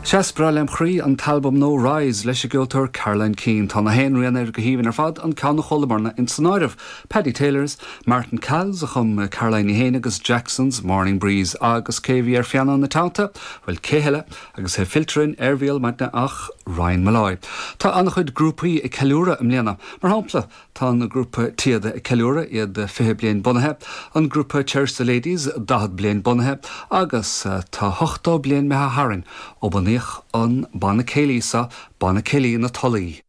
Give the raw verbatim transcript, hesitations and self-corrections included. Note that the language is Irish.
Is breá lem chroí an t-albam nua Rise leis an gceoltóir Caroline Keane tá na haon rian air go haoibhinn ar fad an ceann a chualamarna in san áireamh. Paddy Taylor's, Martin Calls a chum Caroline féin agus Jackson's Morning Breeze agus cé bhí ar phianó ina teannta, bhuel cé eile agus é filterin ar bhíal maidne ach Ryan Molloy. Tá an-chuid grúpaí ag ceiliúradh i mbliana, mar shampla tá an grúpa Téada ag ceiliúradh iad fiche bliain bunaithe, an grúpa Cherish the Ladies daichead bliain bunaithe agus tá ochtó bliain imithe tharainn ó bunaíodh an banna céilí seo banna céilí na Tulaí.